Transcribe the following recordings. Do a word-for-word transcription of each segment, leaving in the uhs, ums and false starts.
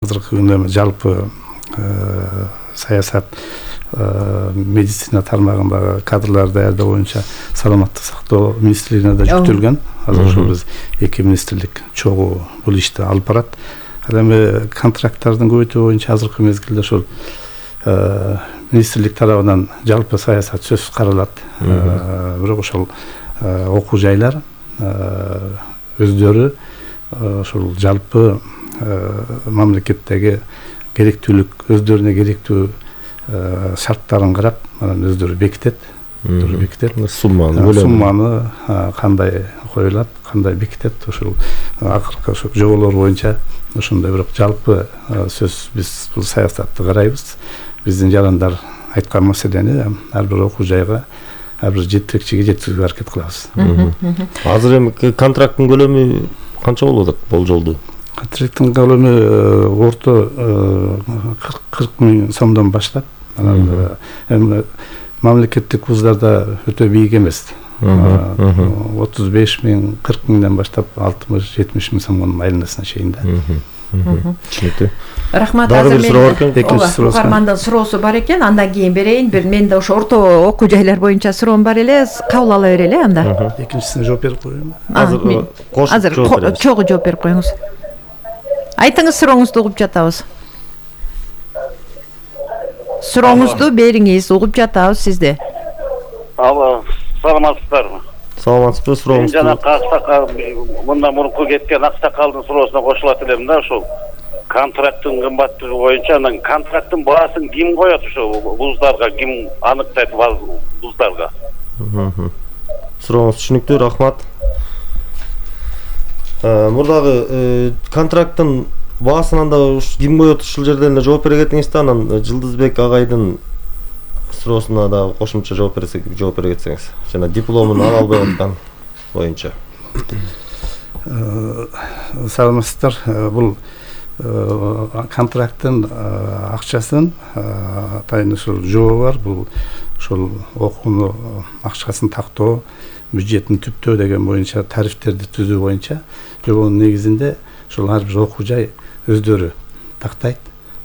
Азыркы күндө жалпы саясат медицина тармагындагы кадрлар даярдоо боюнча саламаттык сактоо министрлигине да жүктөлгөн. Азыр ошол биз эки министрлик чогуу бул ишти алып барат. Ал эми контракттардын көбөйтүү боюнча азыркы мезгилде ошол министрлик тарабынан жалпы саясат сөзсүз каралат. Бирок ошол окуу жайлар өздөрү ошол жалпы мамлекеттеги керектүүлүк өздөрүнө керектүү шарттарын карап анан өздөрү бекитет. Өздөрү бекитет. Сумманы, сумманы кандай коюлат, кандай бекитет, ошол акыркы ошол жоболор боюнча ошондой бирок жалпы сөз биз бул саясатты карайбыз. Биздин жарандар айткан маселени ар бир окуу жайга, ар бир жетекчиге жеткизүүгө аракет кылабыз. Азыр эми контракттын көлөмү канча болот болжолду? Контракттын көлөмү орто кырк миң сомдон баштап, анан эми мамлекеттик вуздарда өтө бийик эмес. отуз беш миң, кырк миңден баштап алтымыш жетимиш миң сомдон айланасына чейин да. Түшүнүктүү. Рахмат. Дагы бир суроо бар экен, экинчи суроо. Угармандын суроосу бар экен, андан кийин берейин. Бир менде ошо орто окуу жайлар боюнча суроом бар эле, кабыл ала берели анда. Экинчисине жооп берип коеюнбу? Азыр Азыр чогуу жооп берип коюңуз. Айтыңыз, сурооңузду угуп жатабыз. Сурооңузду бериңиз, угуп жатабыз сизди. Алло, саламатсыздарбы? Саламатсызбы, сурооңузду. Жана Аксакал мындан мурунку кеткен Аксакалдын суроосуна кошулат элем да, ошол контракттын кымбаттыгы боюнча, анан контракттын баасын ким коет ошо вуздарга, ким аныктайт вуздарга? Сурооңуз түшүнүктүү, рахмат. Мурдагы контракттын баасын анда ким коет ушул жерден эле жооп бере кетиңиз да, анан Жылдызбек агайдын суроосуна да кошумча жооп берсек, жооп бере кетсеңиз. Жана дипломун ала албай аткан боюнча. Саламатсыздар. Бул контракттын акчасын атайын ушул жобо бар. Бул ошол окууну акчасын тактоо, бюджетин түптөө деген боюнча тарифтерди түзүү боюнча жобонун негизинде ошол ар бир окуу жай өздөрү тактайт,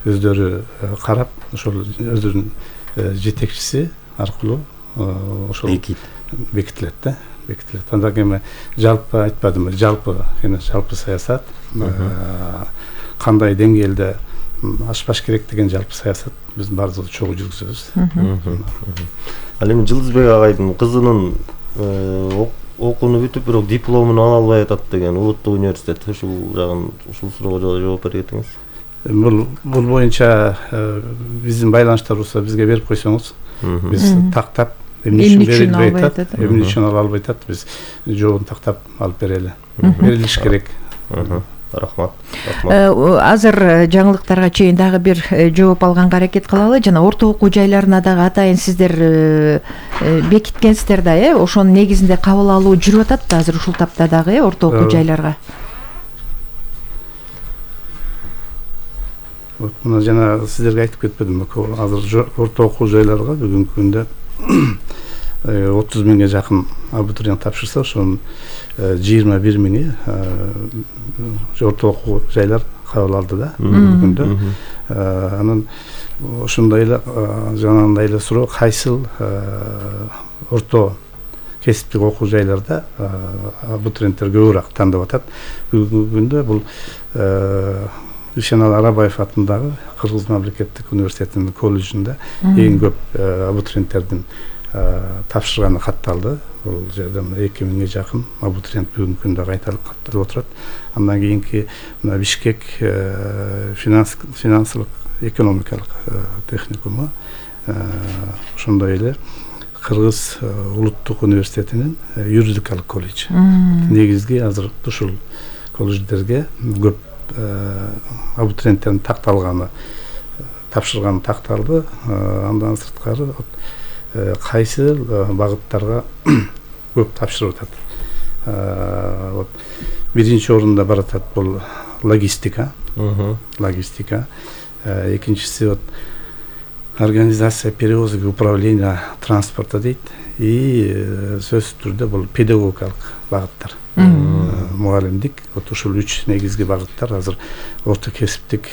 өздөрү карап, ошол өздөрүнүн жетекчиси аркылуу ошол бекитилет да, бекитилет. Андан кийин жалпы айтпадымбы, жалпы кene жалпы саясат кандай деңгээлде ашпаш керек деген жалпы саясат биз баардыгыбыз чогуу жүргүзөбүз. Ал эми Жылдызбек агайдын кызынын окууну бүтүп, бирок дипломун ала албай атат деген улуттук университет, ушул жагын, ушул суроого жооп бере кетиңиз. Бул бул боюнча биздин байланыштар болсо бизге берип койсоңуз, биз тактап эмне үчүн берилбей атат, эмне үчүн ала албай атат, биз жообун тактап алып берели. Берилиш керек. Рахмат. Азыр жаңылыктарга чейин дагы бир жооп алганга аракет кылалы. Жана орто окуу жайларына дагы атайын сиздер бекиткенсиздер да, э, ошонун негизинде кабыл алуу жүрүп атат да азыр ушул тапта дагы, э, орто окуу жайларга. Вот мына жана сиздерге айтып кетпедимби, азыр орто окуу жайларга бүгүнкү күндө отуз миңге жакын абитуриент тапшырса, ошонун жыйырма бир миңи орто окуу жайлар кабыл алды да бүгүндө. Анан ошондой эле жанагындай эле суроо, кайсыл орто кесиптик окуу жайларда абитуриенттер көбүрөөк тандап атат. Бүгүнкү күндө бул Ишенал Арабаев атындагы Кыргыз мамлекеттик университетинин колледжинде эң көп абитуриенттердин тапшырганы катталды. Бул жерде эки миңге жакын абитуриент бүгүнкү күндө катталып отурат. Андан кийинки мына Бишкек финансылык экономикалык техникуму, ошондой эле Кыргыз улуттук университетинин юридикалык колледж. Негизги азыр ушул колледждерге көп абитуриенттердин такталганы, тапшырганы такталды. Андан сырткары кайсы багыттарга көп тапшырып атат. Вот биринчи орунда баратат бул логистика. Логистика. Экинчиси вот организация перевозок и управления транспорта дейт. И сөзсүз түрдө бул педагогикалык багыттар. мугалимдик. Вот ушул үч негизги багыттар азыр орто кесиптик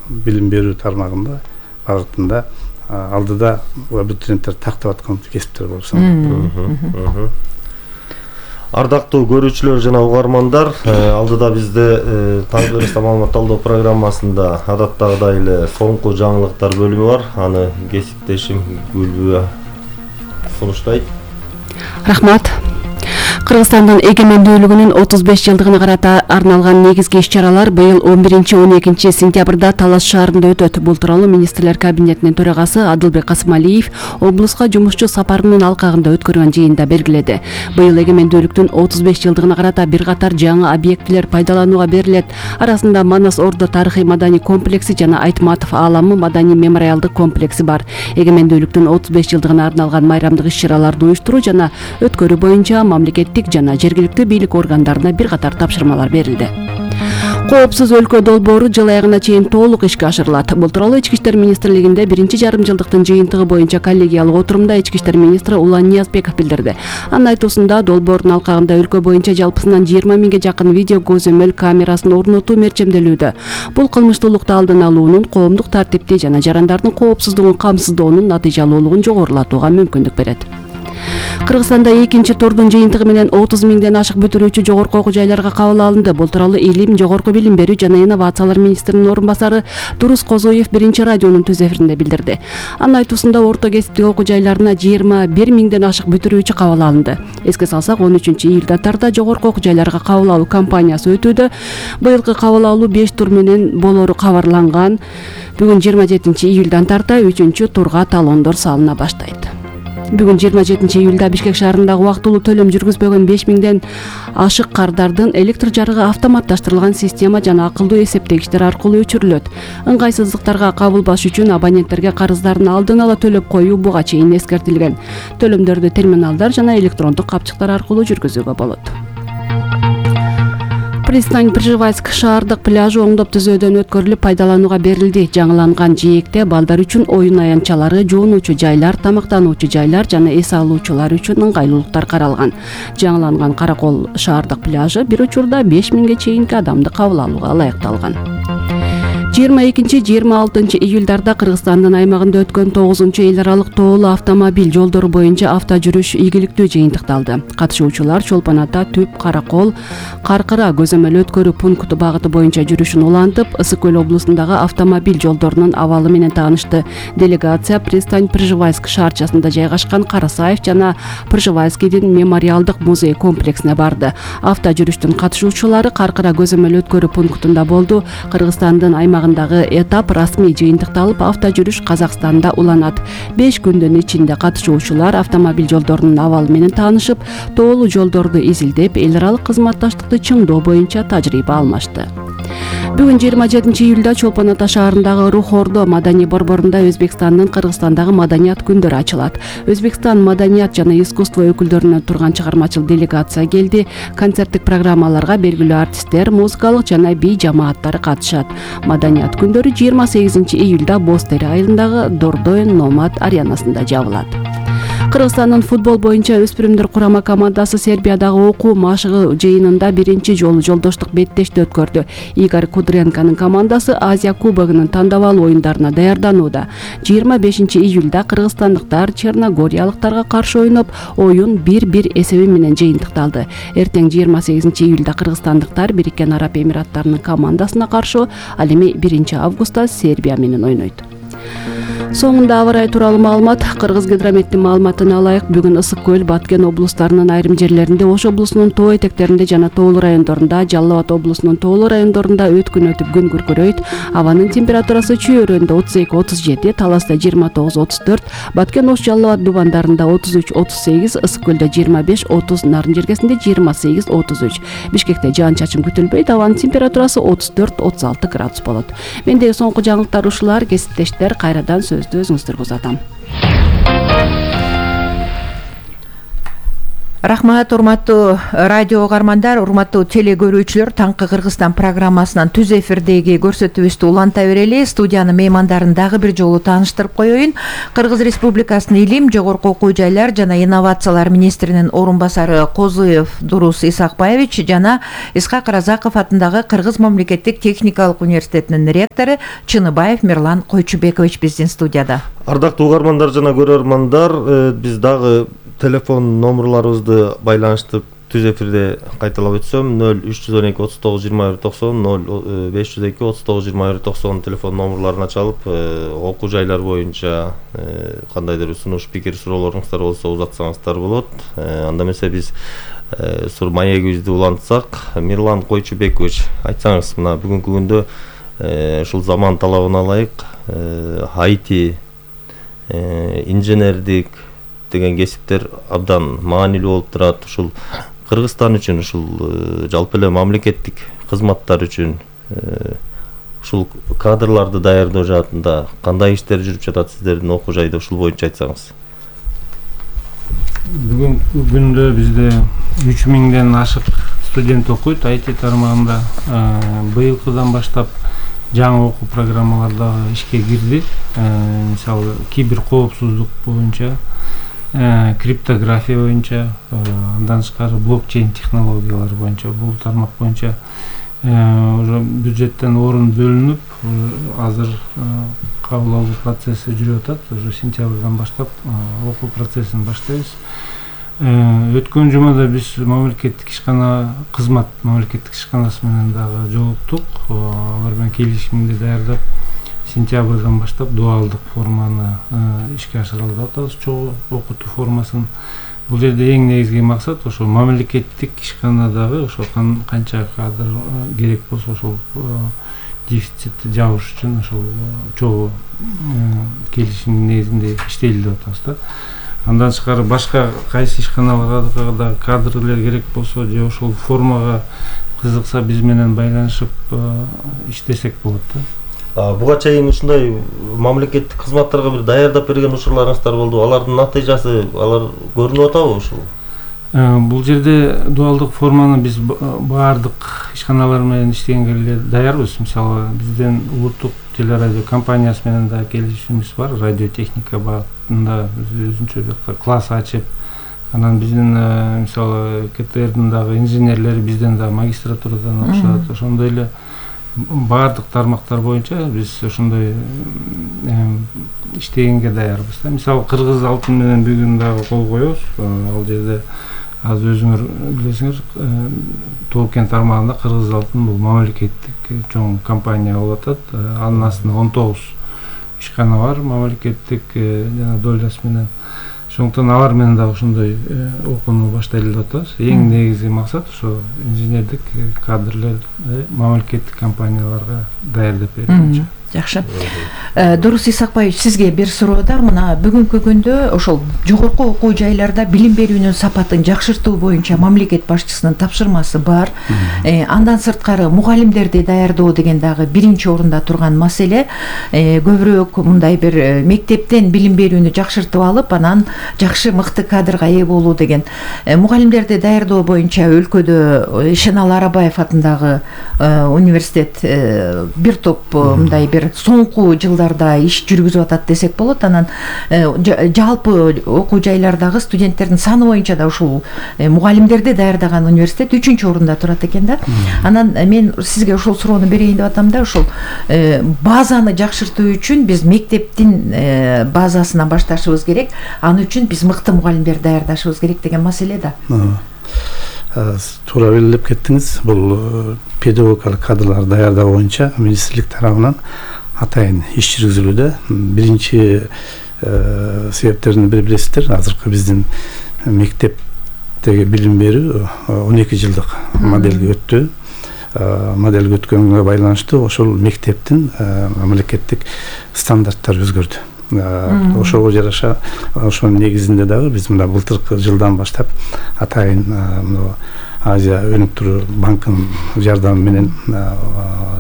билим берүү тармагында багытында алдыда абитуриенттер тактап аткан кесиптер болуп саналат. Ардактуу көрүүчүлөр жана угармандар, алдыда бизде таңкы бериште маалымат алуу программасында адаттагыдай эле соңку жаңылыктар бөлүмү бар. Аны кесиптешим Гүлбү сунуштайт. Рахмат. Кыргызстандын эгемендүүлүгүнүн отуз беш жылдыгына карата арналган негизги иш-чаралар быйыл он биринчи он экинчи сентябрда Талас шаарында өтөт. Бул тууралуу министрлер кабинетинин төрагасы Адылбек Касымалиев облуска жумушчу сапарынын алкагында өткөргөн жыйында белгиледи. Быйыл эгемендүүлүктүн отуз беш жылдыгына карата бир катар жаңы объектилер пайдаланууга берилет. Арасында Манас Ордо тарыхый маданий комплекси жана Айтматов ааламы маданий мемориалдык комплекси бар. Эгемендүүлүктүн отуз беш жылдыгына арналган майрамдык иш-чараларды уюштуруу жана өткөрүү боюнча мамлекеттик жана жергиликтүү бийлик органдарына бир катар тапшырмалар берилди. Коопсуз өлкө долбоору жыл аягына чейин толук ишке ашырылат. Бул тууралуу Ички иштер министрлигинде биринчи жарым жылдыктын жыйынтыгы боюнча коллегиялык отурумда Ички иштер министри Улан Ниязбеков билдирди. Анын айтуусунда долбоордун алкагында өлкө боюнча жалпысынан жыйырма миңге жакын видео көзөмөл камерасын орнотуу мерчемделүүдө. Бул кылмыштуулукту алдын алуунун, коомдук тартипти жана жарандардын коопсуздугун камсыздоонун натыйжалуулугун жогорулатууга мүмкүндүк берет. Кыргызстанда экинчи турдун жыйынтыгы менен отуз миңден ашык бүтүрүүчү жогорку окуу жайларга кабыл алынды. Бул тууралуу Илим, жогорку билим берүү жана инновациялар министринин орун басары Дурус Козоев биринчи радионун түз эфиринде билдирди. Анын айтуусунда орто кесиптик окуу жайларына жыйырма бир миңден ашык бүтүрүүчү кабыл алынды. Эске салсак, он үчүнчү июлда тарда жогорку окуу жайларга кабыл алуу кампаниясы өтүүдө. Быйылкы кабыл алуу беш тур менен болору кабарланган. Бүгүн жыйырма жетинчи июлдан тарта үчүнчү турга талондор салына баштайт. Бүгүн жыйырма жетинчи июлда Бишкек шаарындагы убактылуу төлөм жүргүзбөгөн беш миңден ашык кардардын электр жарыгы автоматташтырылган система жана акылдуу эсептегичтер аркылуу өчүрүлөт. Ыңгайсыздыктарга кабылбаш үчүн абоненттерге карыздарын алдын ала төлөп коюу буга чейин эскертилген. Төлөмдөрдү терминалдар жана электрондук капчыктар аркылуу жүргүзүүгө болот. Пристань Пржевальск шаардык пляжы оңдоп түзөөдөн өткөрүлүп пайдаланууга берилди. Жаңыланган жээкте балдар үчүн оюн аянтчалары, жуунуучу жайлар, тамактануучу жайлар жана эс алуучулар үчүн ыңгайлуулуктар каралган. Жаңыланган Каракол шаардык пляжы бир учурда беш миңге чейинки адамды кабыл алууга ылайыкталган. жыйырма экинчи жыйырма алтынчы июлдарда Кыргызстандын аймагында өткөн тогузунчу эл аралык тоолуу автомобиль жолдору боюнча авто жүрүш ийгиликтүү жыйынтыкталды. Катышуучулар Чолпон Ата, Түп, Каракол, Каркыра көзөмөл өткөрүү пункту багыты боюнча жүрүшүн улантып, Ысык көл облусундагы автомобиль жолдорунун абалы менен таанышты. Делегация Пристань Пржевальск шаарчасында жайгашкан Карасаев жана Пржевальскийдин мемориалдык музей комплексине барды. Авто жүрүштүн катышуучулары Каркыра көзөмөл өткөрүү пунктунда болду. Кыргызстандын аймагындагы этап расмий жыйынтыкталып, авто жүрүш Казакстанда уланат. беш күндүн ичинде катышуучулар автомобиль жолдорунун абалы менен таанышып, тоолуу жолдорду изилдеп, эл аралык кызматташтыкты чыңдоо боюнча тажрыйба алмашты. Бүгүн жыйырма жетинчи июлда Чолпон Ата шаарындагы Рух Ордо маданий борборунда Өзбекстандын Кыргызстандагы маданият күндөрү ачылат. Өзбекстан маданият жана искусство өкүлдөрүнөн турган чыгармачыл делегация келди. Концерттик программаларга белгилүү артисттер, музыкалык жана бий жамааттары катышат. Маданият күндөрү жыйырма сегизинчи июлда Боз Тери айылындагы Дордоен Номад аренасында жабылат. Кыргызстандын футбол боюнча өспүрүмдөр курама командасы Сербиядагы окуу машыгы жыйынында биринчи жолу жолдоштук беттешти өткөрдү. Игорь Кудренконун командасы Азия кубогунун тандабал оюндарына даярданууда. жыйырма бешинчи июлда кыргызстандыктар черногориялыктарга каршы ойноп, оюн бир бир эсеби менен жыйынтыкталды. Эртең жыйырма сегизинчи июлда кыргызстандыктар Бириккен Араб Эмираттарынын командасына каршы, ал эми биринчи августта Сербия менен ойнойт. Соңунда аба ырайы тууралуу маалымат. Кыргызгидрометтин маалыматына алайык, бүгүн Ысык көл, Баткен облустарынын айрым жерлеринде, Ош облусунун тоо этектеринде жана тоолуу райондорунда, Жалал Абад облусунун тоолуу райондорунда өткүн өтүп күн күркүрөйт. Абанын температурасы Чүй-Өрөндө отуз эки отуз жети, Таласта жыйырма тогуз отуз төрт, Баткен, Ош, Жалал Абад дубандарында отуз үч отуз сегиз, Ысык көлдө жыйырма беш отуз, Нарын жергесинде жыйырма сегиз отуз үч. Бишкекте жаан-чачын күтүлбөйт, абанын температурасы отуз төрт отуз алты градус болот. Мендеги соңку жаңылыктар ушулар. Кесиптештер, кайрадан сөздү өзүңүздөргө узатам. Рахмат, урматтуу радио угармандар, урматтуу теле көрүүчүлөр. Таңкы Кыргызстан программасынан түз эфирдеги көрсөтүүбүздү уланта берели. Студиянын меймандарын дагы бир жолу тааныштырып коеюн. Кыргыз Республикасынын Илим, жогорку окуу жайлар жана инновациялар министринин орун басары Козуев Дурус Исакбаевич жана Исхак Разаков атындагы Кыргыз мамлекеттик техникалык университетинин ректору Чыныбаев Мирлан Койчубекович биздин студияда. Ардактуу угармандар жана көрөрмандар, биз дагы телефон номерларыбызды байланыштып түз эфирде кайталап өтсөм, нөл үч жүз он эки отуз тогуз жыйырма бир токсон, нөл беш жүз эки отуз тогуз жыйырма бир токсон телефон номерларына чалып, окуу жайлар боюнча кандайдыр сунуш, пикир, суроолоруңуздар болсо узатсаңыздар болот. Анда эмесе биз сур маегибизди улантсак, Мирлан Койчубекович, айтсаңыз, мына бүгүнкү күндө ушул заман талабына ылайык ай ти, инженердик деген кесиптер абдан маанилүү болуп турат. Ушул Кыргызстан үчүн, ушул жалпы эле мамлекеттик кызматтар үчүн ушул кадрларды даярдоо жаатында кандай иштер жүрүп жатат сиздердин окуу жайда, ушул боюнча айтсаңыз. Бүгүнкү күндө бизде үч миңден ашык студент окуйт ай ти тармагында. Быйылкыдан баштап жаңы окуу программалар дагы ишке кирди. Мисалы, кибер коопсуздук боюнча, криптография боюнча, андан тышкары блокчейн технологиялары боюнча, бул тармак боюнча уже бюджеттен орун бөлүнүп, азыр кабыл алуу процесси жүрүп атат. Уже сентябрдан баштап окуу процессин баштайбыз. Өткөн жумада биз мамлекеттик ишкана кызмат мамлекеттик ишканасы менен дагы жолуктук. Алар менен келишимди даярдап, сентябрдан баштап дуалдык форманы ишке ашырып атабыз, чогуу окутуу формасын. Бул жерде эң негизги максат ошо мамлекеттик ишканадагы ошо канча кадр керек болсо ошол дефицитти жабыш үчүн ошол чогуу келишимдин негизинде иштейли деп атабыз да. Андан тышкары башка кайсы ишканаларга да кадрлер керек болсо же ошол формага кызыкса биз менен байланышып иштесек болот да. Буга чейин ушундай мамлекеттик кызматтарга бир даярдап берген учурларыңыздар болду. Алардын натыйжасы, алар көрүнүп атабы ушул? Бул жерде дуалдык форманы биз баардык ишканалар менен иштегенге эле даярбыз. Мисалы, бизден улуттук телерадио компаниясы менен да келишимибиз бар. Радиотехника багытында өзүнчө жакта класс ачып, анан биздин мисалы ка тэ эрдин дагы инженерлери бизден да магистратурадан окушат. Ошондой эле баардык тармактар боюнча биз ошондой иштегенге даярбыз да. Мисалы, Кыргыз алтын менен бүгүн дагы кол коебуз. Ал жерде азыр өзүңөр билесиңер, Тоо-Кен тармагында Кыргыз алтын бул мамлекеттик чоң компания болуп атат. Анын астында он тогуз ишкана бар мамлекеттик жана долясы менен. Ошондуктан алар менен дагы ошондой окууну баштайлы деп атабыз. Эң негизги максат ошо инженердик кадрлерди мамлекеттик компанияларга даярдап берүү. Жакшы. Дурус Исакбаевич, сизге бир суроо да. Мына бүгүнкү күндө ошол жогорку окуу жайларда билим берүүнүн сапатын жакшыртуу боюнча мамлекет башчысынын тапшырмасы бар. Андан сырткары мугалимдерди даярдоо деген дагы биринчи орунда турган маселе. Көбүрөөк мындай бир мектептен билим берүүнү жакшыртып алып, анан жакшы мыкты кадрга ээ болуу деген. Мугалимдерди даярдоо боюнча өлкөдө Шенал Арабаев атындагы университет бир топ мындай бир соңку жылдарда иш жүргүзүп атат десек болот. Анан жалпы окуу жайлардагы студенттердин саны боюнча да ушул мугалимдерди даярдаган университет үчүнчү орунда турат экен да. Анан мен сизге ушул суроону берейин деп атам да. Ушул базаны жакшыртуу үчүн биз мектептин базасынан башташыбыз керек. Аны үчүн биз мыкты мугалимдерди даярдашыбыз керек деген маселе да. Туура белгилеп кеттиңиз. Бул педагогикалык кадрлар даярдоо боюнча министрлик тарабынан атайын иш жүргүзүлүүдө. Биринчи себептерин бири билесиздер. Азыркы биздин мектептеги билим берүү он эки жылдык моделге өттү. Моделге өткөнгө байланыштуу ошол мектептин мамлекеттик стандарттары өзгөрдү. Ошого жараша ошонун негизинде дагы биз мына былтыркы жылдан баштап атайын Азия өнүктүрүү банкынын жардамы менен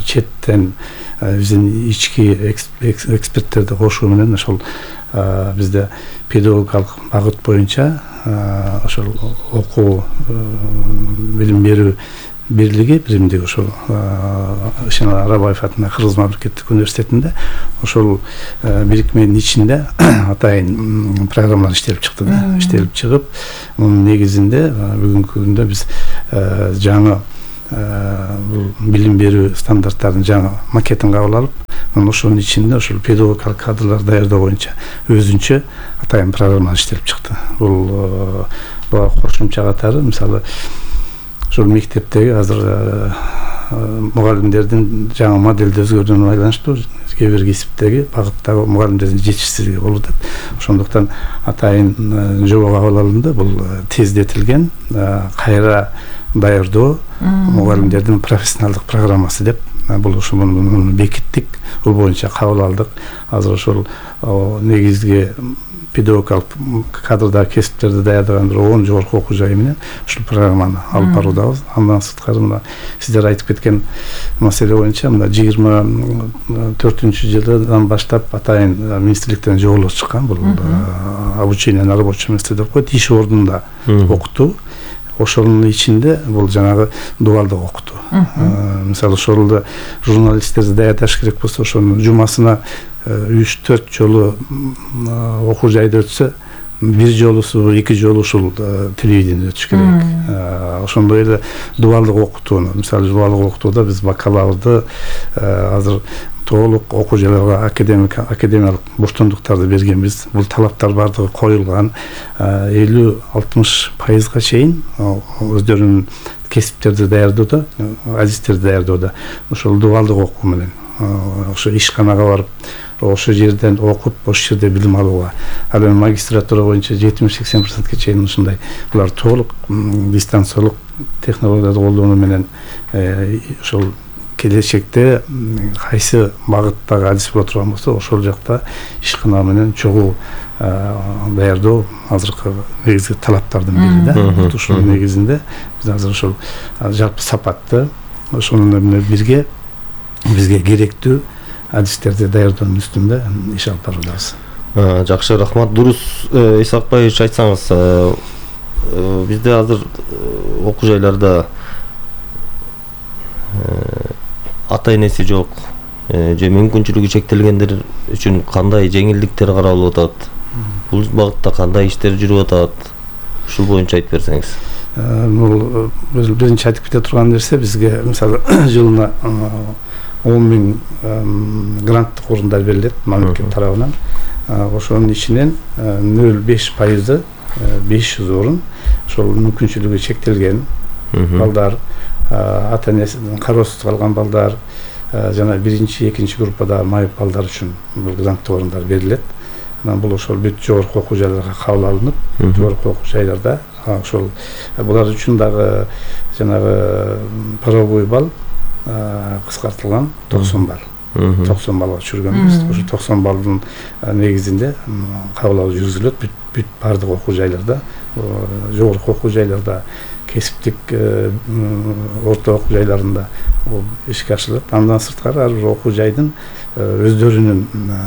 четтен биздин ички эксперттерди кошуу менен ошол бизде педагогикалык багыт боюнча ошол окуу билим берүү бирлиги биримдиги ошол Ишеналы Арабаев атындагы Кыргыз мамлекеттик университетинде ошол бирикменин ичинде атайын программалар иштелип чыкты да. Иштелип чыгып, мунун негизинде бүгүнкү күндө биз жаңы бул билим берүү стандарттарынын жаңы макетин кабыл алып, ошонун ичинде ошол педагогикалык кадрлар даярдоо боюнча өзүнчө атайын программа иштелип чыкты. Бул буга кошумча катары мисалы ошол мектептеги азыр мугалимдердин жаңы модельди өзгөрүүнүн байланыштуу кээ бир кесиптеги багыттагы мугалимдердин жетишсиздиги болуп атат. Ошондуктан атайын жоба кабыл алынды. Бул тездетилген кайра даярдоо мугалимдердин профессионалдык программасы деп бул ошол бекиттик. Бул боюнча кабыл алдык. Азыр ошол негизги педагогикалык кадрдагы кесиптерди даярдаган бир он жогорку окуу жайы менен ушул программаны алып баруудабыз. Андан сырткары мына сиздер айтып кеткен маселе боюнча мына жыйырма төртүнчү жылдан баштап атайын министрликтен жоболор чыккан. Бул обучение на рабочем месте деп коет, иш ордунда окутуу. Ошонун ичинде бул жанагы дуалдык окутуу. Мисалы ошолду журналисттерди даярдаш керек болсо, ошонун жумасына үч төрт жолу окуу жайда өтсө, бир жолусу, эки жолу ушул телевидение өтүш керек. Ошондой эле дуалдык окутууну, мисалы дуалдык окутууда биз бакалаврды азыр толук окуу жайларга академик академиялык боштондуктарды бергенбиз. Бул талаптар бардыгы коюлган. элүү алтымыш пайызга чейин өздөрүнүн кесиптерди даярдоодо, адистерди даярдоодо ошол дуалдык окуу менен ошо ишканага барып, ошол жерден окуп, ошол жерде билим алууга. Ал эми магистратура боюнча жетимиш сексен процентке чейин ушундай булар толук дистанциялык технологияларды колдонуу менен ошол келечекте кайсы багыттагы адис боло турган болсо, ошол жакта ишкана менен чогуу даярдоо азыркы негизги талаптардын бири да. Ошол негизинде биз азыр ошол жалпы сапатты ошону менен бирге бизге керектүү адистерди даярдоонун үстүндө иш алып баруудабыз. Жакшы, рахмат. Дурус Исакбаевич, айтсаңыз, бизде азыр окуу жайларда ата энеси жок же мүмкүнчүлүгү чектелгендер үчүн кандай жеңилдиктер каралып атат? Бул багытта кандай иштер жүрүп атат? Ушул боюнча айтып берсеңиз. Бул биринчи айтып кете турган нерсе, бизге мисалы жылына он миң гранттык орундар берилет мамлекет тарабынан. Ошонун ичинен нөл беш пайызы беш жүз орун ошол мүмкүнчүлүгү чектелген балдар, ата энесинин кароосуз калган балдар, жана биринчи, экинчи группадагы майып балдар үчүн бул гранттык орундар берилет. Анан бул ошол бүт жогорку окуу жайларга кабыл алынып, жогорку окуу жайларда ошол булар үчүн дагы жанагы правовой балл кыскартылган токсон балл. токсон балга түшүргөнбүз. Ошо токсон балдын негизинде кабыл алуу жүргүзүлөт бүт бүт бардык окуу жайларда, жогорку окуу жайларда, кесиптик орто окуу жайларында ишке ашырылат. Андан сырткары ар бир окуу жайдын өздөрүнүн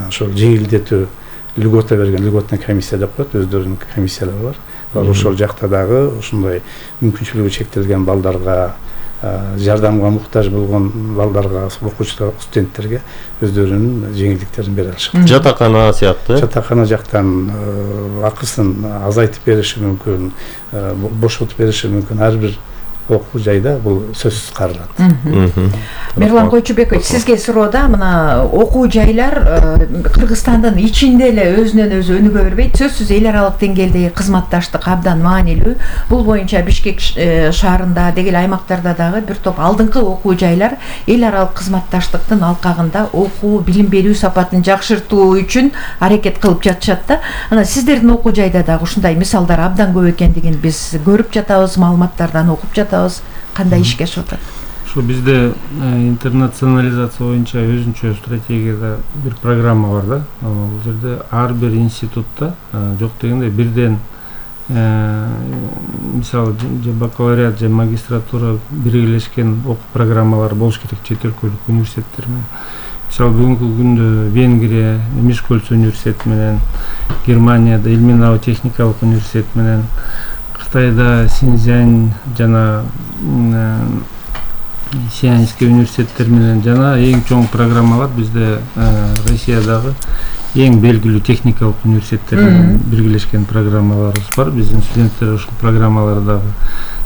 ошол жеңилдетүү льгота берген, льготная комиссия деп коет, өздөрүнүн комиссиялары бар. Алар ошол жакта дагы ушундай мүмкүнчүлүгү чектелген балдарга, жардамга муктаж болгон балдарга, окуучуларга, студенттерге өздөрүнүн жеңилдиктерин бере алышат. Жатакана сыяктуу. Жатакана жактан акысын азайтып бериши мүмкүн, бошотуп бериши мүмкүн. Ар бир окуу жайда бул сөзсүз каралат. Мирлан Койчубекович, сизге суроода мына окуу жайлар Кыргызстандын ичинде эле өзүнөн өзү өнүгө бербейт. Сөзсүз эл аралык деңгээлдеги кызматташтык абдан маанилүү. Бул боюнча Бишкек шаарында, дегеле аймактарда дагы бир топ алдыңкы окуу жайлар эл аралык кызматташтыктын алкагында окуу, билим берүү сапатын жакшыртуу үчүн аракет кылып жатышат да. Анан сиздердин окуу жайда дагы ушундай мисалдар абдан көп экендигин биз көрүп жатабыз, маалыматтардан окуп жатабыз. Кандай ишке ашып атат? Ошо бизде интернационализация боюнча өзүнчө стратегияда бир программа бар да. Бул жерде ар бир институтта жок дегенде бирден мисалы же бакалавриат же магистратура биргелешкен окуу программалары болуш керек чет өлкөлүк университеттер менен. Мисалы бүгүнкү күндө Венгрия Мишкольц университети менен, Германияда Илминау техникалык университет менен, Кытайда Синьцзянь жана Сианский университеттер менен жана эң чоң программалар бизде Россиядагы эң белгилүү техникалык университеттер менен биргелешкен программаларыбыз бар. Биздин студенттер ушул программаларды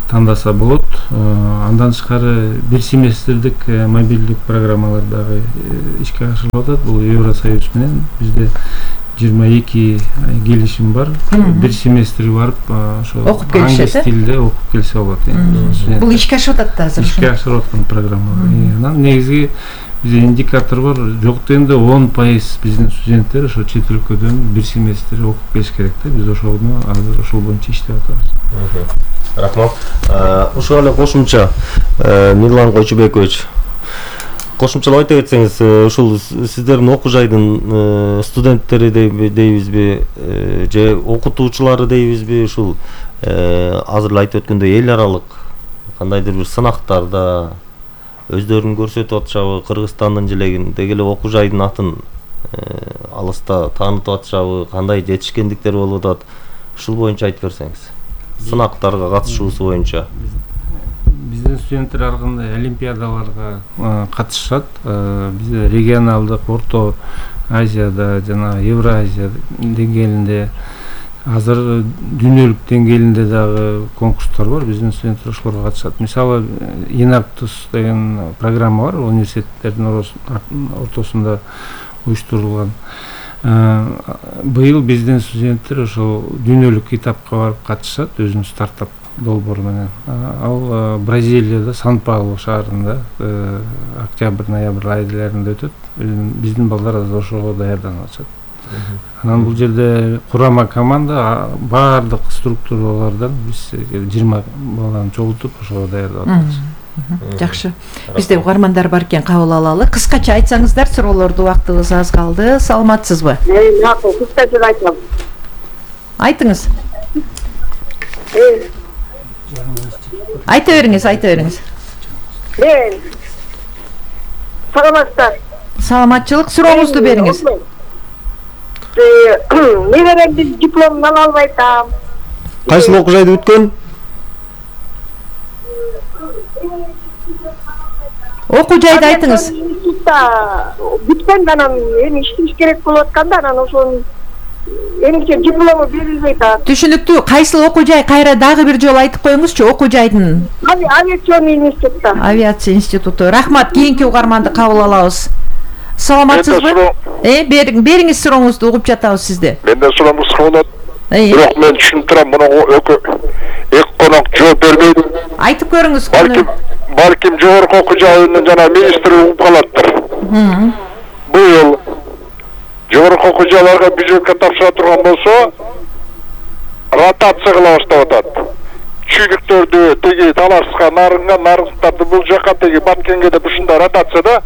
тандаса болот. Андан тышкары бир семестрдик мобилдик программалар дагы ишке ашырылып атат. Бул Евросоюз менен бизде жыйырма эки келишим бар. Бир семестрге барып ошо окуп келишет. Англис тилинде окуп келсе болот. Бул ишке ашып атат да азыр. Ишке ашырып аткан программа. Анан негизги бизде индикатор бар. Жок дегенде он пайыз биздин студенттер ошо чет өлкөдөн бир семестр окуп келиш керек да. Биз ошону азыр ошол боюнча иштеп атабыз. Рахмат. Ушуга эле кошумча Мирлан Койчубекович, кошумчалап айта кетсеңиз, ушул сиздердин окуу жайдын студенттери дейбизби же окутуучулары дейбизби, ушул азыр эле айтып өткөндөй эл аралык кандайдыр бир сынактарда өздөрүн көрсөтүп атышабы, Кыргызстандын желегиндеги эле окуу жайдын атын алыста таанытып атышабы, кандай жетишкендиктер болуп атат, ушул боюнча айтып берсеңиз. Сынактарга катышуусу боюнча. Биздин студенттер ар кандай олимпиадаларга катышат. Бизде регионалдык, Орто Азияда жана Евразия деңгээлинде, азыр дүйнөлүк деңгээлинде дагы конкурстар бар. Биздин студенттер ошолорго катышат. Мисалы, Инактус деген программа бар, университеттердин ортосунда уюштурулган. Быйыл биздин студенттер ошол дүйнөлүк этапка барып катышат, өзүнүн стартап долбоору менен. Ал Бразилияда, Сан-Паулу шаарында октябрь-ноябрь айларында өтөт. Биздин балдар азыр ошого даярданып атышат. Анан бул жерде курама команда баардык структуралардан биз жыйырма баланы чогултуп ошого даярдап атабыз. Жакшы. Бизде угармандар бар экен, кабыл алалы. Кыскача айтсаңыздар, суроолорду убактыбыз аз калды. Саламатсызбы? Мен макул, кыскача айтам. Айтыңыз. Э. Айта бериңиз, айта бериңиз. Мен. Саламатсыздар. Саламатчылык, сурооңузду бериңиз. Э, неберемдин дипломун ала албай атам. Кайсы окуу жайды бүткөн? Окуу жайды айтыңыз. Бүткөн, анан эми иштеш керек болуп атканда, анан ошонун эмче диплому берилбей атат. Түшүнүктүү. Кайсыл окуу жай? Кайра дагы бир жолу айтып коюңузчу, окуу жайдын. Авиацион институтта. Авиация институту. Рахмат, кийинки угарманды кабыл алабыз. Саламатсызбы? Э, бериңиз сурооңузду, угуп жатабыз сизди. Менде суроом кыска болот. Бирок мен түшүнүп турам, муну эки конок жооп бербейт. Айтып көрүңүз. Балким, балким жогорку окуу жайынын жана министри угуп калаттыр. Быйыл жогорку окуу жайларга бюджетке тапшыра турган болсо, ротация кыла баштап атат. Чүйлүктөрдү теги Талашка, Нарынга, Нарыктарды бул жака, теги Баткенге деп ушундай ротацияда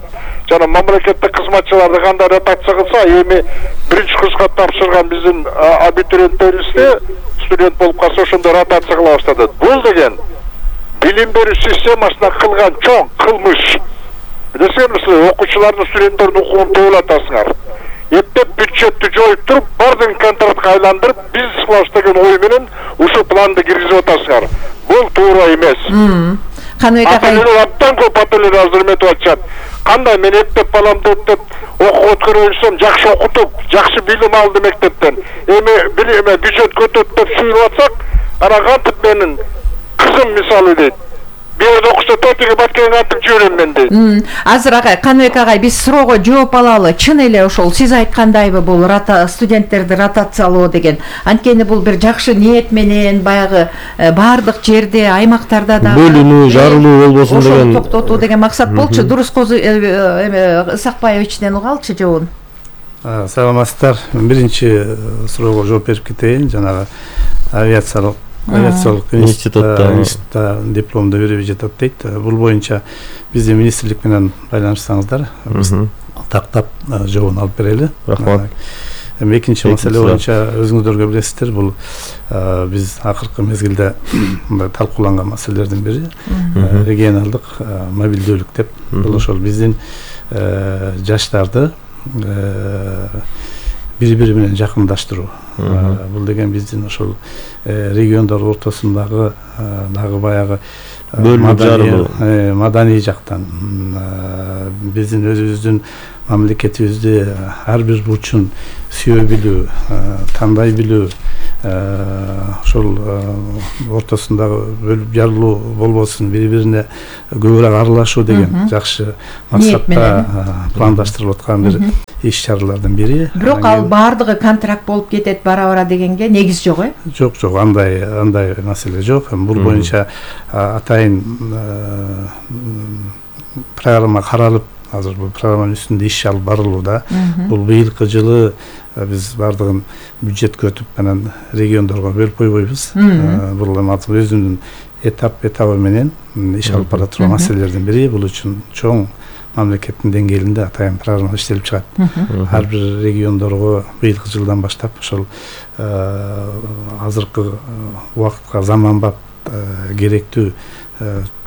жана мамлекеттик кызматчыларды кандай ротация кылса, эми биринчи курска тапшырган биздин абитуриенттерибизде студент болуп калса ошондой ротация кыла баштады. Бул деген билим берүү системасына кылган чоң кылмыш. Билесиңерби, окуучулардын, студенттердин укугун тойлатасыңар. Эптеп бюджетти жоюп туруп, бардын контрактка айландырып, бизнес кылабыз деген ой менен ушул планды киргизип атасыңар. Бул туура эмес. Каныбек агай, Абдан көп ателер азыр эметип атышат. Кандай мен эптеп баламды эптеп окууга өткөрөйсөм, жакшы окутуп, жакшы билим алды мектептен. Эми билиме бюджет көтөт деп сүйүп атсак, ана кантип менин кызым мисалы дейт. Бир окуса тотиге Баткенге антип жүрөм мен дейт. Азыр агай, Каныбек агай, биз суроого жооп алалы. Чын эле ошол сиз айткандайбы бул студенттерди ротациялоо деген? Анткени бул бир жакшы ниет менен баягы баардык жерде, аймактарда да бөлүнүү, жарылуу болбосун деген. Ошол токтотуу деген максат болчу. Дурус Исакбаевичтен угалчы жообун. Саламатсыздар. Биринчи суроого жооп берип кетейин. Жанагы авиациялык авиациялык институтта дипломду берип жатат дейт. Бул боюнча биздин министрлик менен байланышсаңыздар, биз тактап жообун алып берели. Рахмат. Эми экинчи маселе боюнча өзүңүздөргө билесиздер, бул биз акыркы мезгилде талкууланган маселелердин бири регионалдык мобилдүүлүк деп. Бул ошол биздин жаштарды бири бири менен жакындаштыруу. Бул деген биздин ошол региондор ортосундагы дагы баягы маданий жактан биздин өзүбүздүн мамлекетибизди ар бир бурчун сүйө билүү, тандай билүү, ошол ортосундагы бөлүп жарылуу болбосун, бири бирине көбүрөөк аралашуу деген жакшы максатта пландаштырылып аткан бир иш чаралардын бири. Бирок ал баардыгы контракт болуп кетет бара-бара дегенге негиз жок, э? Жок, жок, андай андай маселе жок. Бул боюнча атайын программа каралып, азыр бул программанын үстүндө иш алып барылууда. Бул быйылкы жылы биз бардыгын бюджетке өтүп анан региондорго бөлүп койбойбуз. Бул эми өзүнүн этап этабы менен иш алып бара турган маселелердин бири. Бул үчүн чоң мамлекеттин деңгээлинде атайын программа иштелип чыгат. Ар бир региондорго быйылкы жылдан баштап ошол азыркы убакытка заманбап керектүү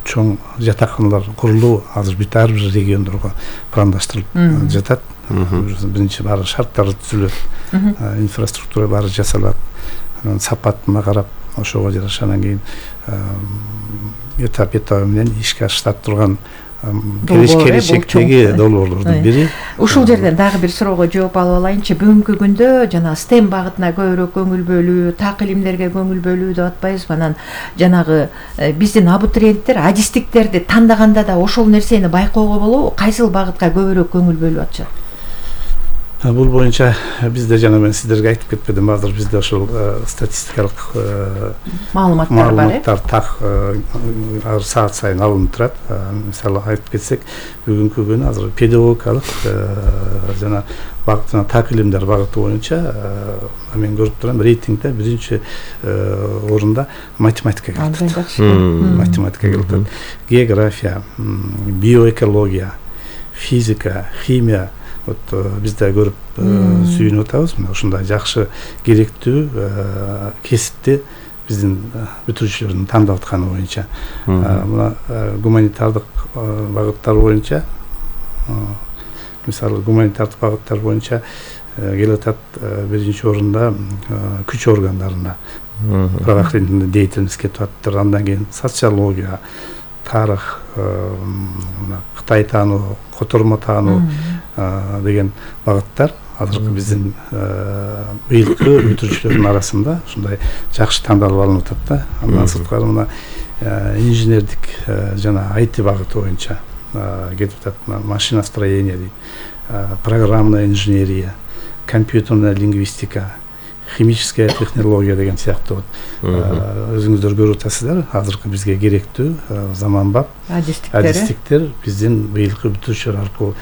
чоң жатакханалар курулуу азыр бүт ар бир региондорго пландаштырылып жатат. Биринчи баары шарттары түзүлөт, инфраструктура баары жасалат, анан сапатына карап ошого жараша анан кийин этап этабы менен ишке ашырылып турган келечектеги долбоорлордун бири. Ушул жерден дагы бир суроого жооп алып алайынчы. Бүгүнкү күндө жана стем багытына көбүрөөк көңүл бөлүү, так илимдерге көңүл бөлүү деп атпайбызбы? Анан жанагы биздин абитуриенттер адистиктерди тандаганда да ошол нерсени байкоого болобу? Кайсыл багытка көбүрөөк көңүл бөлүп атышат? Бул боюнча бизде жана мен сиздерге айтып кетпедим, азыр бизде ошол статистикалык маалыматтар бар, маалыматтар так ар саат сайын алынып турат. Мисалы айтып кетсек, бүгүнкү күнү азыр педагогикалык жана багыт жана так илимдер багыты боюнча мен көрүп турам, рейтингде биринчи орунда математика келип атат. Математика келип атат. География, биоэкология, физика, химия вот бизде көрүп сүйүнүп атабыз. Мына ушундай жакшы керектүү кесипти биздин бүтүрүүчүлөрдүн тандап атканы боюнча. Мына гуманитардык багыттар боюнча, мисалы гуманитардык багыттар боюнча келип атат биринчи орунда күч органдарына правоохранительный деятельность кетип атыптыр. Андан кийин социология, тарых, Кытай таануу, котормо таануу деген багыттар азыркы биздин быйылкы бүтүрүүчүлөрдүн арасында ушундай жакшы тандалып алынып атат да. Андан сырткары мына инженердик жана ай ти багыты боюнча кетип атат. Машиностроение дейт, программная инженерия, компьютерная лингвистика, химическая технология деген сыяктуу өзүңүздөр көрүп атасыздар. Азыркы бизге керектүү заманбап адистиктер биздин быйылкы бүтүрүүчүлөр аркылуу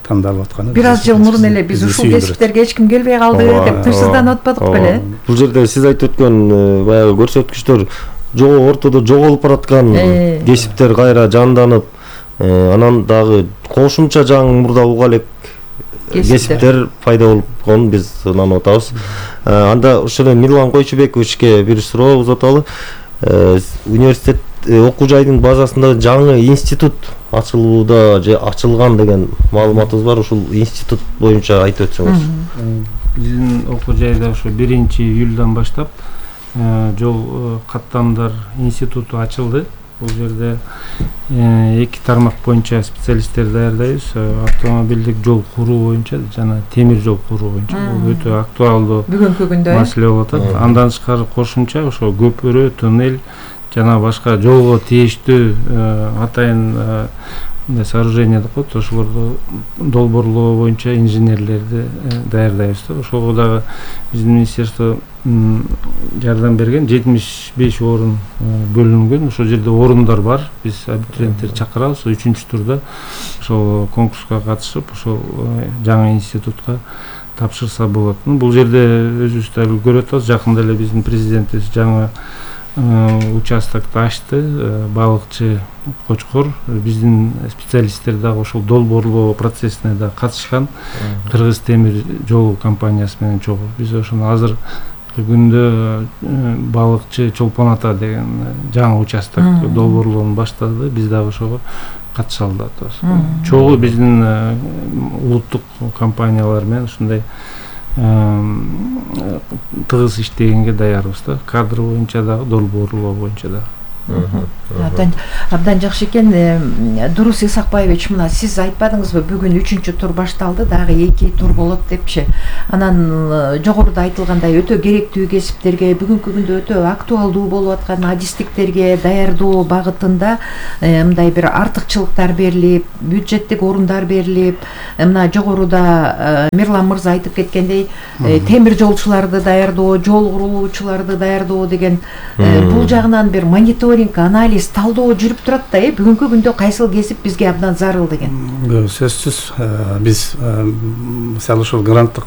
тандалып атканы. Бир аз жыл мурун эле биз ушул кесиптерге эч ким келбей калды деп тынчсызданып атпадык беле? Бул жерде сиз айтып өткөн баягы көрсөткүчтөр жогоо ортодо жоголуп бараткан кесиптер кайра жанданып, анан дагы кошумча жаңы мурда уга элек кесиптер пайда болгонун биз ынанып атабыз. Анда ошол Мирлан Койчубековичке бир суроо узаталы. Университет окуу жайдын базасында жаңы институт ачылууда же ачылган деген маалыматыбыз бар. Ушул институт боюнча айтып өтсөңүз. Биздин окуу жайда ошо биринчи июлдан баштап жол каттамдар институту ачылды. Бул жерде эки тармак боюнча специалисттер даярдайбыз. Автомобилдик жол куруу боюнча жана темир жол куруу боюнча. Бул өтө актуалдуу бүгүнкү күндө маселе болуп атат. Андан тышкары кошумча ошо көпүрө, туннель жана башка жолго тийиштүү атайын мындай сооружение деп коет, ошолорду долбоорлоо боюнча инженерлерди даярдайбыз. Ошого дагы биздин министерство жардам берген, жетимиш беш орун бөлүнгөн. Ошол жерде орундар бар. Биз абитуриенттерди чакырабыз. Үчүнчү турда ошол конкурска катышып, ошол жаңы институтка тапшырса болот. Бул жерде өзүбүз дагы көрүп атабыз. Жакында эле биздин президентибиз жаңы участокты ачты. Балыкчы Кочкор, биздин специалисттер дагы ошол долбоорлоо процессине да катышкан. Кыргыз темир жол компаниясы менен чогуу. Биз ошону азыр күндө балыкчы Чолпон ата деген жаңы участок долбоорлоону баштады. Биз дагы ошого катыша алабыз. Чогуу биздин улуттук компаниялар менен ушундай тыгыз иштегенге даярбыз да. Кадр боюнча дагы, долбоорлоо боюнча дагы. Абдан абдан жакшы экен. Дурус Исакбаевич, мына сиз айтпадыңызбы, бүгүн үчүнчү тур башталды, дагы эки тур болот депчи. Анан жогоруда айтылгандай өтө керектүү кесиптерге, бүгүнкү күндө өтө актуалдуу болуп аткан адистиктерге даярдоо багытында мындай бир артыкчылыктар берилип, бюджеттик орундар берилип, мына жогоруда Мирлан мырза айтып кеткендей, темир жолчуларды даярдоо, жол курулуучуларды даярдоо деген бул жагынан бир мониторинг, анализ, талдоо жүрүп турат да, э бүгүнкү күндө кайсыл кесип бизге абдан зарыл деген. Сөзсүз биз мисалы ошол гранттык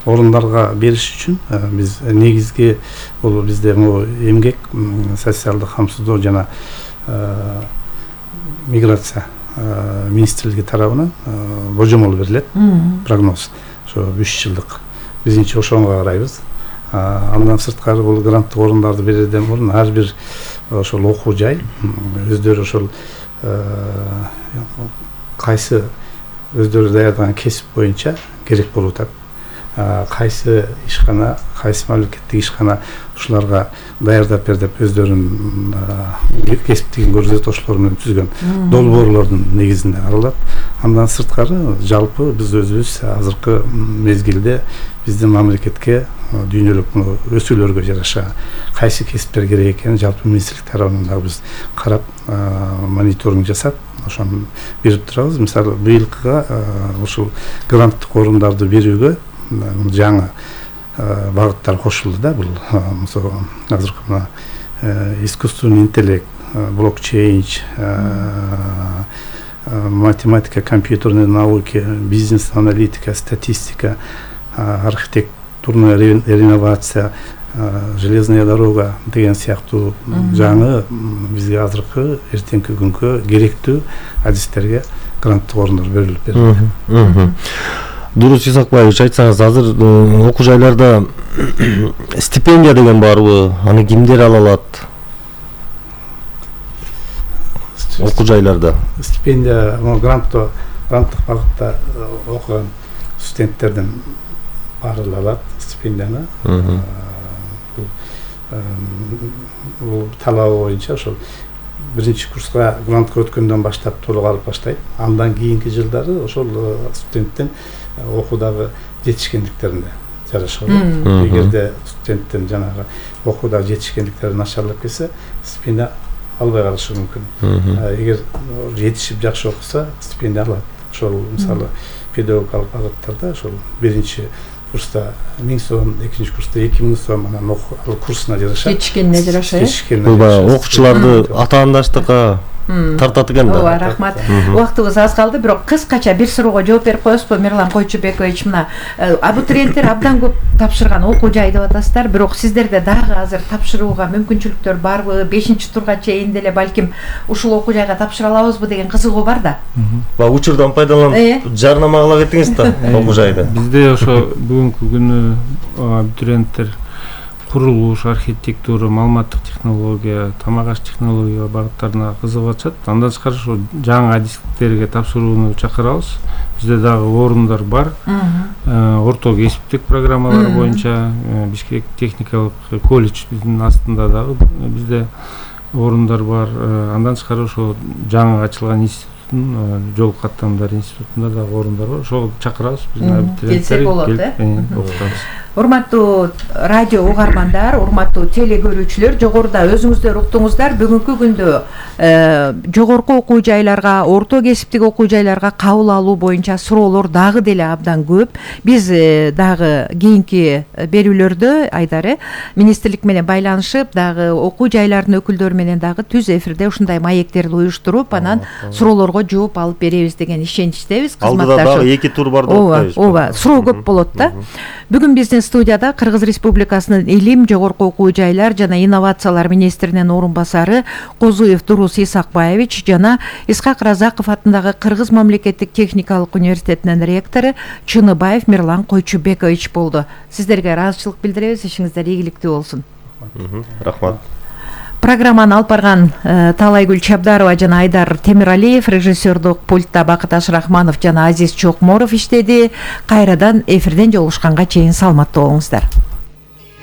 орундарга бериш үчүн биз негизги бул бизде эмгек, социалдык камсыздоо жана миграция министрлиги тарабынан божомол берилет, прогноз. Ошо үч жылдык. Бизинчи ошого карайбыз. Андан сырткары бул гранттык орундарды берүүдөн мурун ар бир ошол окуу жай өздөрү ошол кайсы өздөрү даярдаган кесип боюнча керек болуп атат. Кайсы ишкана, кайсы мамлекеттик ишкана ушуларга даярдап бер деп өздөрүнүн кесиптигин көрсөтөчүлөр менен түзгөн долбоорлордун негизинде каралат. Андан сырткары жалпы биз өзүбүз азыркы мезгилде биздин мамлекетке дүйнөлүк өсүүлөргө жараша кайсы кесиптер керек экенин жалпы министрлик тарабынан дагы биз карап мониторинг жасап ошону берип турабыз. Мисалы быйылкыга ушул гранттык орундарды берүүгө жаңы багыттар кошулду да. Бул азыркы мына искусственный интеллект, блокчейн, математика, компьютерные науки, бизнес-аналитика, статистика, архитектурная реновация, железная дорога деген сыяктуу жаңы бизге азыркы эртеңки күнгө керектүү адистерге гранттык орундар берилип берилет. Дурус Исакбаевич, айтсаңыз, азыр окуу жайларда стипендия деген барбы? Аны кимдер ала алат? Окуу жайларда стипендия гранттык гранттык багытта окуган студенттерден баары алат стипендияны. Бул талабы боюнча ошол биринчи курска грантка өткөндөн баштап толук алып баштайт. Андан кийинки жылдары ошол студенттен окуудагы жетишкендиктерине жараша болот. Эгерде студенттен жанагы окуудагы жетишкендиктери начарлап кетсе, стипендия албай калышы мүмкүн. Эгер жетишип жакшы окуса, стипендия алат. Ошол мисалы педагогикалык багыттарда ошол биринчи курста миң сом, экинчи курста эки миң сом, анан окуу курсуна жараша. Жетишкенине жараша, э? Бул окуучуларды атаандаштыкка тартат экен да. Ооба, рахмат. Убактыбыз аз калды, бирок кыскача бир суроого жооп берип коесузбу, Мирлан Койчубекович? Мына абитуриенттер абдан көп тапшырган окуу жай деп атасыздар, бирок сиздерде дагы азыр тапшырууга мүмкүнчүлүктөр барбы? бешинчи турга чейин деле балким ушул окуу жайга тапшыра алабызбы деген кызыгуу бар да. Ба учурдан пайдаланып жарнама кыла кетиңиз да окуу жайды. Бизде ошо бүгүнкү күнү абитуриенттер курулуш, архитектура, маалыматтык технология, тамак аш технология багыттарына кызыгып атышат. Андан тышкары ошо жаңы адистиктерге тапшырууну чакырабыз. Бизде дагы орундар бар. Орто кесиптик программалар боюнча Бишкек техникалык колледж биздин астында дагы бизде орундар бар. Андан тышкары ошо жаңы ачылган институттун, жол каттамдар институтунда дагы орундар бар. Ошого чакырабыз биздин абитуриенттерди. Келсе болот, э? Окутабыз. Урматтуу радио угармандар, урматтуу теле көрүүчүлөр, жогоруда өзүңүздөр уктуңуздар, бүгүнкү күндө жогорку окуу жайларга, орто кесиптик окуу жайларга кабыл алуу боюнча суроолор дагы деле абдан көп. Биз дагы кийинки берүүлөрдө Айдар министрлик менен байланышып, дагы окуу жайлардын өкүлдөрү менен дагы түз эфирде ушундай маектерди уюштуруп, анан суроолорго жооп алып беребиз деген ишеничтебиз. Алдыда дагы эки тур бар деп атпайбызбы? Ооба, ооба, суроо көп болот да. Бүгүн биздин менен студияда Кыргыз Республикасынын Илим, жогорку окуу жайлар жана инновациялар министринин орун басары Козуев Дурус Исакбаевич жана Исхак Разаков атындагы Кыргыз мамлекеттик техникалык университетинин ректору Чыныбаев Мирлан Койчубекович болду. Сиздерге ыраазычылык билдиребиз, ишиңиздер ийгиликтүү болсун. Рахмат. Программаны алып барган Талайгүл Чабдарова жана Айдар Темиралиев, режиссердук пультта Бакыт Ашрахманов жана Азиз Чокморов иштеди. Кайрадан эфирден жолугушканга чейин саламаттуу болуңуздар.